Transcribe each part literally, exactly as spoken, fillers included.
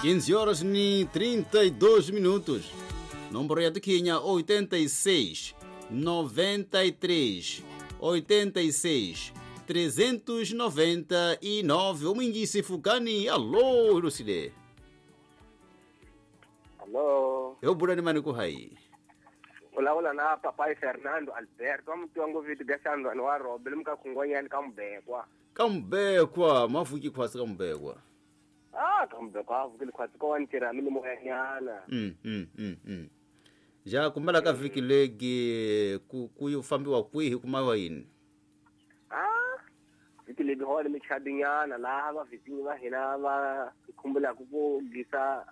quinze horas e trinta e dois minutos. Número ya tukinya oitenta e seis, noventa e três, oitenta e seis, trezentos e noventa e nove. Umingisi fukani. Alô, Lucile. Alô. Eu burani mani kuhai. Olá, olá, na papai Fernando Alberto. Vamos ter um vídeo desse ano no arroba. Ele nunca congonha kambekwa. Kambekwa, mafuki kwasi kambekwa. Ah, kambekwa, vukile kwasi kwa ntira mini moyanyana. Mm, mm, mm, mm. Ja kumela ka viki legi ku ku fambiwa kwihi kumawa yini? Ah, viki legi hole michadinyana laha va vizinyi va hina va khumbula ku ku gisa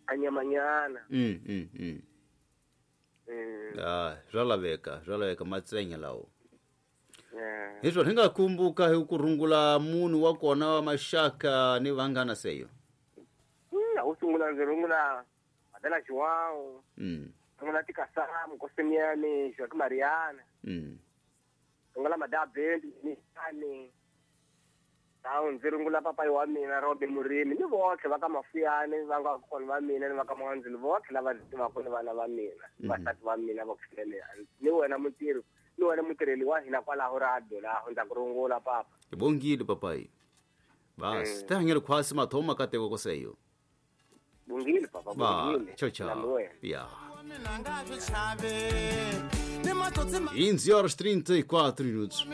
anyamanyana. Mm, mm, mm. Mm. Ah, swa laveka, swa laveka matsenya lawo. Yeah. Hiswo hi nga kumbuka hi ku rungula munhu wa kona wa maxaka ni vanghana seyo. Mm, u sungula ndzi rungula Adela João. Mm. Rungula Tikasam, Kosemiane, Joaquim Mariana. Mm. Rungula Madabeli, Nisani. Tawu ndzi rungula papai wa mina Robin Murimi ni votlhe va ka Mafuyane va nga kona va mina ni va ka Mwandzini votlhe lava ndzi tivaka ni vana va mina vasati va mina va ku fikelea ni wena mutirhi ni wena mutirheli wa hina kwalaho radio laho ndza ku rungula papa. Hi bongile papai. Bas, ta hanyela khwasi mathoma kateko koseyo. Bongile papa, bongile. Ciao ciao. Ya. quinze horas trinta e quatro minutos.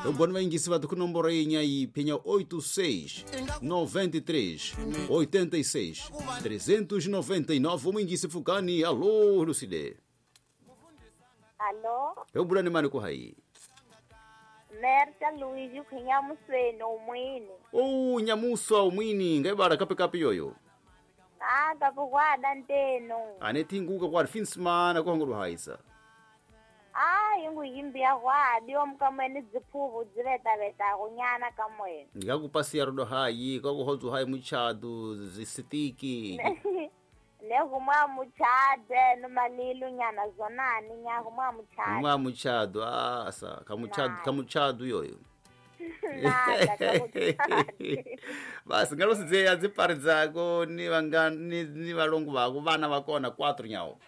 Eu bom vai ingisi va ku nomboro yinya yi phinya oito seis, noventa e três, oitenta e seis, trezentos e noventa e nove. Umingisi fukani. Alô, Lucile. Alô. Eu burani mani ku hai. Merta Luiz kinyamusweni umwini. Oh, nyamuswa umwini ngaibara kape kape yoyo. Ah, kapukwada nteno. Ane tinguka kwa finsmana kwa nguru haisa. Ah, yingu yimbia kwadi omkamweni dziphuvu dzivetaveta kunyana kamweni. Ngakupasiya rudo hayi kwakuhodzu hayi muchadu zisitiki. Nekumwa muchade nomalilu nyana zonani nyakumwa muchado. Mwa muchado asa kamuchado kamuchado yoyo. Basi ngalosizeya dzipari dzako ni vanga ni, ni valongo vako vana vakona quatro nyawo.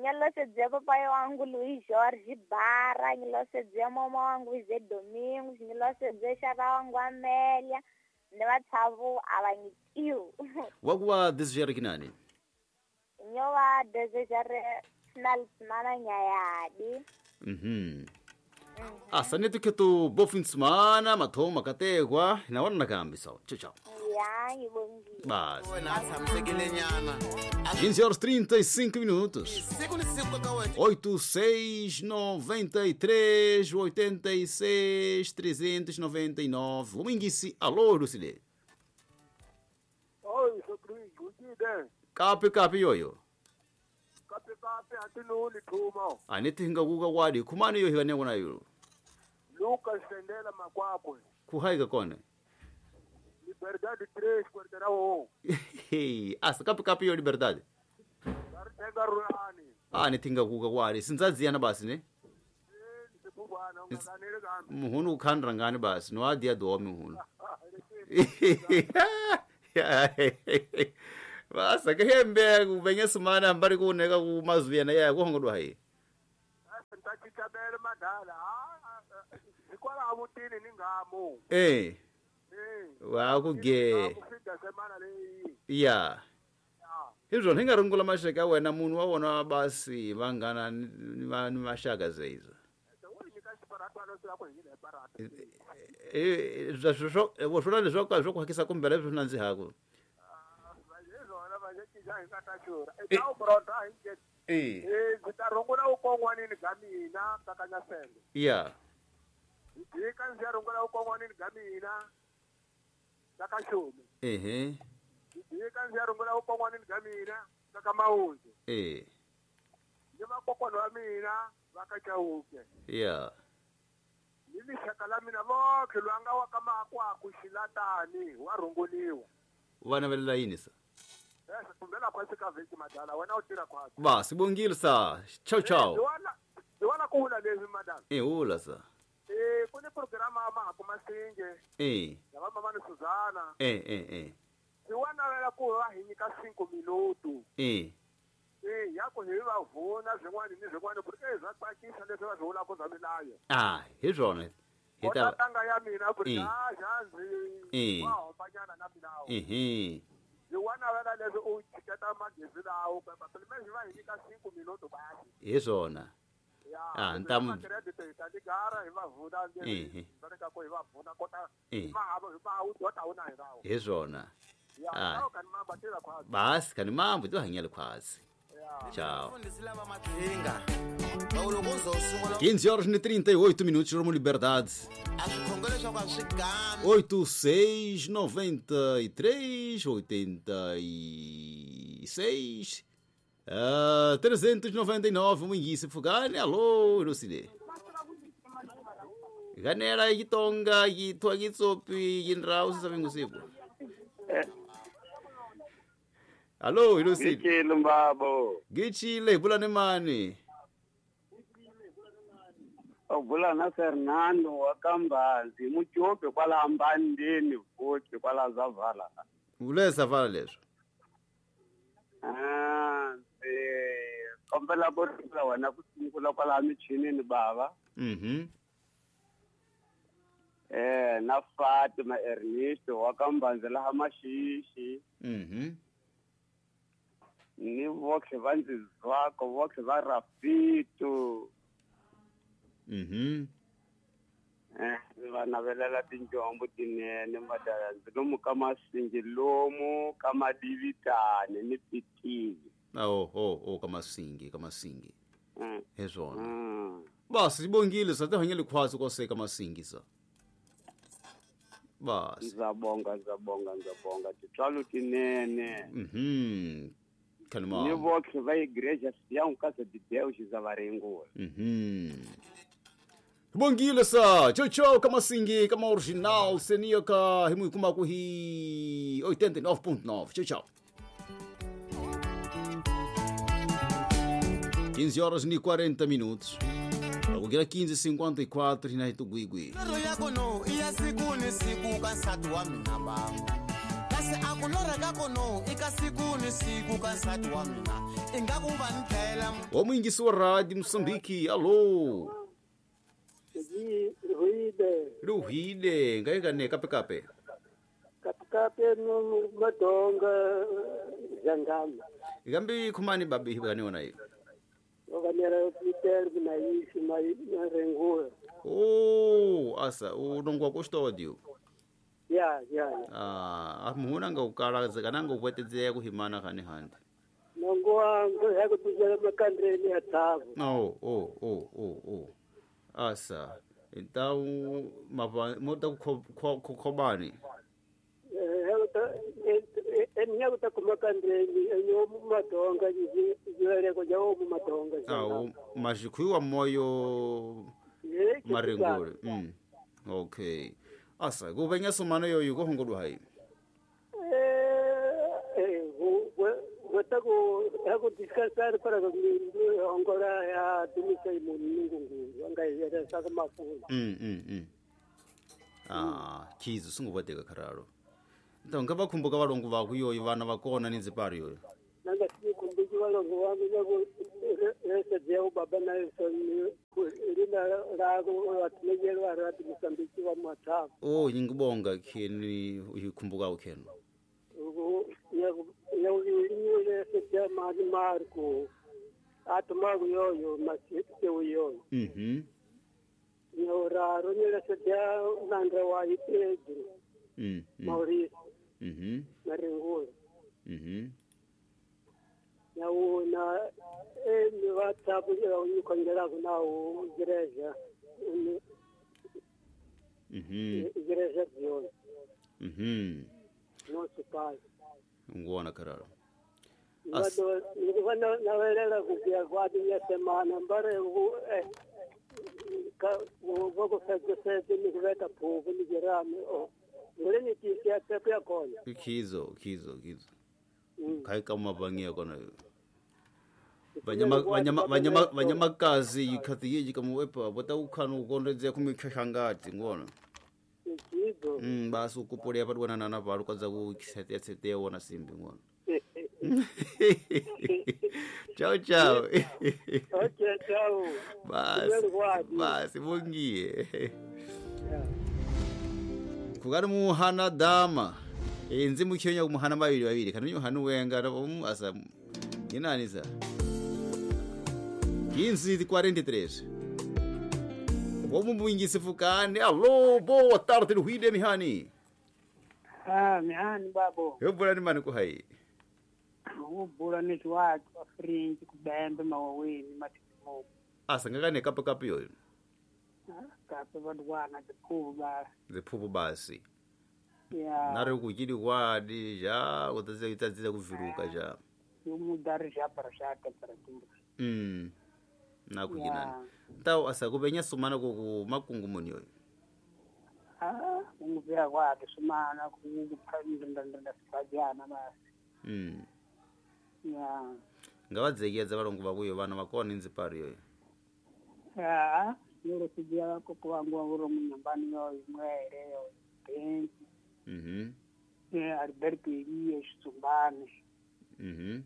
Nyalosedzea papai wangu Luiz Jorge Barra, nyalosedzea mama wangu Zé Domingos, nyalosedzea xava wangu Amélia, ni vatshavo a va nyikiwi. Wakuva desejare kinani? Nyo va desejare final semana nyayadi. Mhm. Asa netu ketu bom fim de semana, mathoma katekwa, na wana nakambi so. Tchau tchau. Ya, ngibongile. Bas. quinze horas trinta e cinco minutos. oito seis, noventa e três, oitenta e seis, trezentos e noventa e nove. Umingisi, alô, Lucile. Oi, Rodrigo, dia. Kapi kapi yoyo. Kapi kapi atinuli thuma. Aneti hingakuka kwadi, khumani yo hikane kona yo. Lucas Sendela Makwakwe. Kuhaika kona. Liberdade três, quarteirão um. Hey, asa kapi kapi yo Liberdade. Ah, netinga kuka kwadi, sinzadziyana basi ne? Eh, Muhunu ukhandra ngani basi, no adia domi muhunu. Basa kehembe kubenye semana mbari kuneka kumazuyana ya kuhongodwa hayi. Ntachitabele madala. Ah, ikwala amutini ningamo. Eh. Eh. Wa kuge. Ya. Hizvo hinga rungula mashaka wena munhu wa wona basi vangana ni mashaka zeizo. Eh, zvo zvo zvo zvo kuhakisa kumbere zvo nanzi hako. Eh, ngitarungula ukongwanini gamina takanyasende. Yeah. Ndika nzarungula ukongwanini gamina takashumi. Ehe. Ndika nzarungula ukongwanini gamina takamauzi. Eh. Ndimakokwana wa mina vakachauke. Yeah. Nimishaka la mina vokhe lwanga wakamakwa kushilatani warunguliwa. Vana velela yini sa? Basi bongile sa. Ciao ciao. Ndiwana kuhula lezi madala. Eh hula sa. Eh kune programa ama kumasinge. Eh. Laba mama ni Suzana. Eh eh eh. Ndiwana wela ku va hi nyika cinco minuto. Eh. Eh, ya ku hi va vona swin'wana ni swin'wana ku ri eh swa tsakisa leswi va swi vulaka swa milayo. Ah, hi swona. Hi ta tanga ya mina ku ri Eh. ah xanzi Eh. wa hombanyana na milawu. Ehe. Hi wana vela leswi u chiketa magezi lawo kapa pele va hi nyika cinco minuto basi. Hi swona. Ya. Ah, ntamu- credit hi ta ligara hi va vuna Eh. va ka ku hi va vuna kota Eh. ma ha ma wu dota wu na hi rawo. Hi swona. Ya, Ah. ka ni mamba tela khwazi. Basi kani mambo to hanyela khwazi. Ya. Tchau. Mfundhisi lava maqhinga loko uzosungula quinze horas e trinta e oito minutos, Rumo Liberdade. a swikhongelo leswaku a swi gami oito seis noventa e três oitenta e seis ah, trezentos e noventa e nove Munguice Fugane. Alô, Lucile. Ganera yitonga yitwa yitsopi yindrau sisavingusiku. Alô, Lucile. Ngitshile mbabo. Gichile bulane mani. Ubula na Fernando wa Kambazi mujobe kwala mbandeni futhi kwala zavala. Ulesa vala leswo. Ah, eh kombela ku ri wena ku sungula kwala michinini baba. Mhm. Eh na Fatima Ernesto wa Kambazi laha Mashishi. Mhm. Ni voxe va ndzi zwako voxe va Rafito. Mhm. Eh va navelela tinjombo tinene madala ndzi lomu ka Masingi lomu ka Madivitane ni Pitili. Oh oh oh ka Masingi ka Masingi. Mm. Hi swona. Mm. Basi sibongile sa te hanyele khwazi koseka Masingi sa. Basi. Ndza bonga ndza bonga ndza bonga titswalo tinene. Mhm. Kani Ni ma. voxe va igreja Sião Casa de Deus za Varengula. Mhm. Bongile sa. Tchau tchau ka Masingi ka original senia ka himu kuma ku hi oitenta e nove ponto nove. Tchau tchau. quinze horas e quarenta minutos. Agora quinze e cinquenta e quatro na Ituguigui. Loro ya kono i ya siku ni siku ka nsati wa mina ba kasi a ku lorha ka kono i ka siku ni siku ka nsati wa mina ingaku va ni dlayela O Munguice wa Rádio Moçambique, alô. Ruide, Ruhile, ngai gane kape kape. kape no madonga zangama. Gambi khumani babi gane ona yi. Oganera Peter na isi mai rengula. Oh, asa unongwa custódio. Ya, ya. ya. Ah, muhuna nga ukala kana nga upwetedzea kuhimana khani handi. Nongoa ngo ya kutujela makandreni ya thabu. Oh, oh, oh, oh, oh. Asa, então mapa mota khobani. Eh, enya kutakumakandreni enyo madonga jilele ko jawo madonga. Ah, mazhikhuwa moyo marengule. Mm. Okay. Asa, kubenya somano yoyu kohongolwa hayi. Eh, eh, go go descansar para angora ya dumisa imunungu anga yera saka mafu. Mm mm mm. Ah, khizo sungubadeka khararo. Então ngabakhumbuka valongo vaku yoyo vana vakona ni ndzipari yoyo. Nanga sikumbuki valongo vangu nyaku ese jeu baba na so lina lago watinejelo rati Mosambiki wa mathabu. Oh, ngibonga kheni uyikhumbuka ukheno. Nyaku nyaku ese jeu mali Marco atumagu yoyo masite yoyo. Mhm. Nyoraro nyela jeu nandra wa Pedro. Mm. mm. Mauricio. Mhm. Marengula. Mhm. Nauna emi WhatsApp ya unyikongela nawo igreja. Mhm. Igreja Zion. Mhm. Nosso pai. Ngwana kararo. As ngwana nawelela kuya kwati ya semana mbare eh ka go fetse fetse ni kubeta phuku ni jerame o ngole ni tisia tepo ya kona. Khizo, khizo, khizo. Kai kama bangia kona. Banyama banyama banyama banyamakazi yikhathi yeji kamuwepa bota ukhana ukondedze kumikhashangati ngona. Ndizo. Mm, basi ukupolea padwana nana palu kwanza kukisetea setea wona simbi ngono. Ciao ciao. Okay, ciao. Basi. Basi bungie. Kugari muhana dama. Enzi mukyonya kumuhana babiri babiri kana nyohana wenga um asa inani sa. quinze e quarenta e três. Vamos mwingise fukane. Alô, boa tarde Ruhide mihani. Ah, mihani babo. Eu bora ni mani kuhai. Ubula ni watu wa fringe kubembe mawaweni matimo. Asa ngakane kapo kapo yoyo. Kapo badwana ziphubu basi. Ziphubu basi. Yeah. Nari kuchili kwadi ja utaziza utaziza kuviruka ja. Umudari ja parashaka paratumba. Mm. Nakukinani. Tawo asa kubenya sumana ku makungu muni yoyo. Ah, unguvira kwake sumana kukuphandanda sifajana basi. Mm. Yeah. Ngavadzekiyadza valongo vakuyo vana vakona inzipari yoyo. Ah, nero sijia koko wangu wanguro munyambani yoyo mwere yoyo. Benzi. Mhm. Eh, Alberto Elias Tsumbane. Mhm.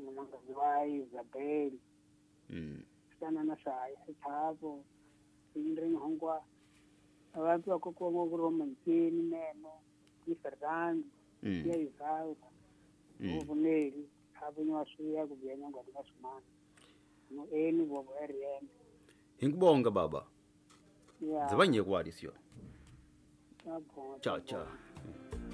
Mwangazi wa Isabel. Mm. Sana na sai sithabo. Indre ngwa abantu bakoko ngokuro mantini meno ni Fernando. Mm. Ya Isao. Mm. Ubuneli abunye wasuya kubyenya ngwamasumana. No eni bobo R M. Ingubonga baba. Yeah. Zibanye kwali sio. Yabonga. Ciao ciao.